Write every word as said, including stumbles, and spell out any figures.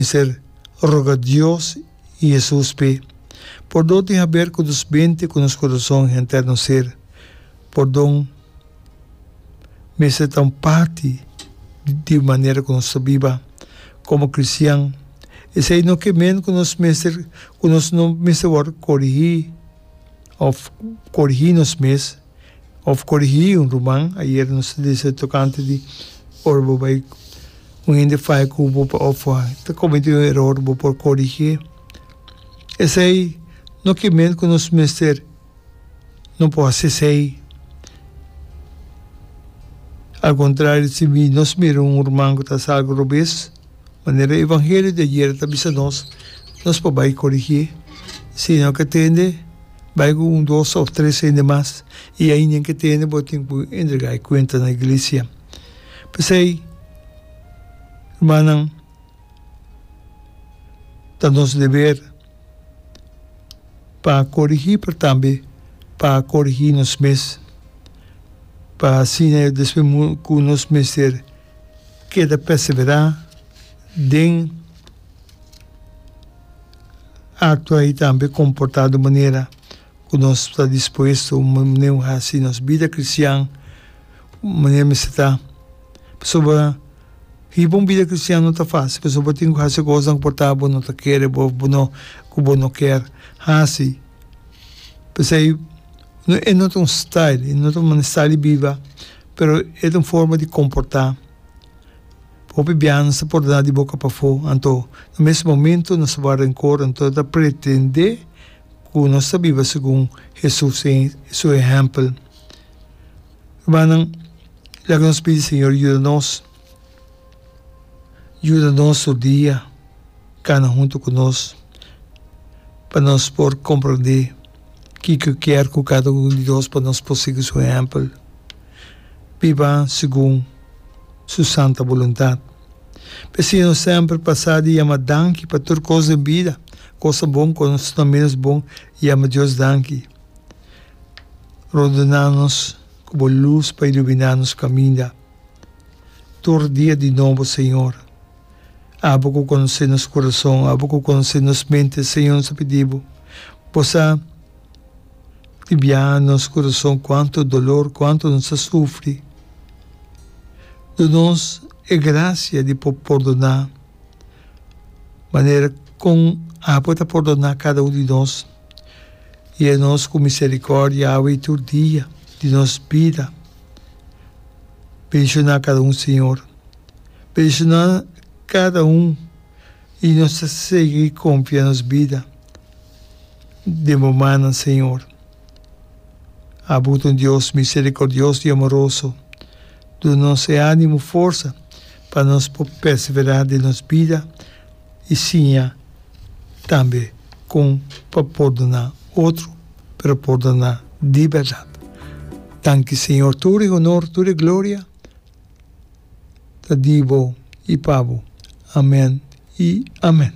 Mester roga Dios i Hesus p'e. Pordon tin haber ku nos mente, ku nos kurason i henter nos ser. Pordon mester ta un parti di manera ku nos ta biba komo kristian. Esei no ke men ku nos mester ku nos no mester wòrdu korigí òf korigí nos mes. Of korigí un ruman. Ayer nos ta disa tokante di ora bo bai un hende faya ku bo of ta kometí un eror bo por korigié. Esei no ke men ku nos mester no por hasi esei. Al kontrario si nos mira un ruman ku ta hasi algu robes, manera e evangelio di ayer ta bisa nos, nos por bai korigié. Si no ke tende, bai ku un, dos òf tres hende mas, i ainda ke tende bo tin ku entregá e kuenta na iglesia. P'esei, rumannan, ta nos deber pa korigí, pero tambe pa korigí nos mes, pa asina despues ku nos mester keda perseverá den aktua i tambe komportá di un manera ku nos ta dispuesto, un manera un hasi nos bida kristian un manera mester ta. Pasobra hiba un bida kristian no ta fásil, pasobra bo tin ku hasi kosnan ku por ta bo no ta kere, bo bo no ku bo no kier hasi. P'esei e no ta un style, e no ta un style di biba, pero e ta un forma di komportá. Hopi biaha nos ta pordoná di boka pafó, anto na mes momento nos ta wòrdu renkor, anto ta pretendé ku nos ta biba segun Hesus su ehèmpel. Rumannan, laga nos pidi Señor yuda nos, yuda nos tur dia kana huntu ku nos, pa nos por komprondé kiko kier ku kada un di nos pa nos por sigui su ehèmpel, biba segun su santa boluntat. P'esei nos semper pasa di yama danki pa tur kos den bida, kosnan bon, kosnan ménos bon, yama Dios danki. Rondoná nos ku bo lus pa iluminá nos kaminda tur dia di nobo, Señor. Abo ku konosé nos kurason, abo ku konosé nos mente, Señor, nos ta pidi bo, bo sa di biaha nos kurason kuantu dolor, kuantu nos ta sufri. Duna nos e grasia di por pordoná manera kon abo ta pordoná kada un di nos. Yena nos ku miserikòrdia awe i tur dia di nos bida. Bendishoná kada un, Señor. Bendishoná kada un i nos ta sigui konfia nos bida den bo mannan, Señor. Abo ta un Dios miserikòrdioso i amoroso. Duna nos e ánimo, forsa pa nos por perseverá den nos bida i siña tambe kon pa pordoná otro, pero pordoná di bèrdat. Danki Señor, tur e honor, tur e gloria ta di bo i pa bo. Amèn i amèn.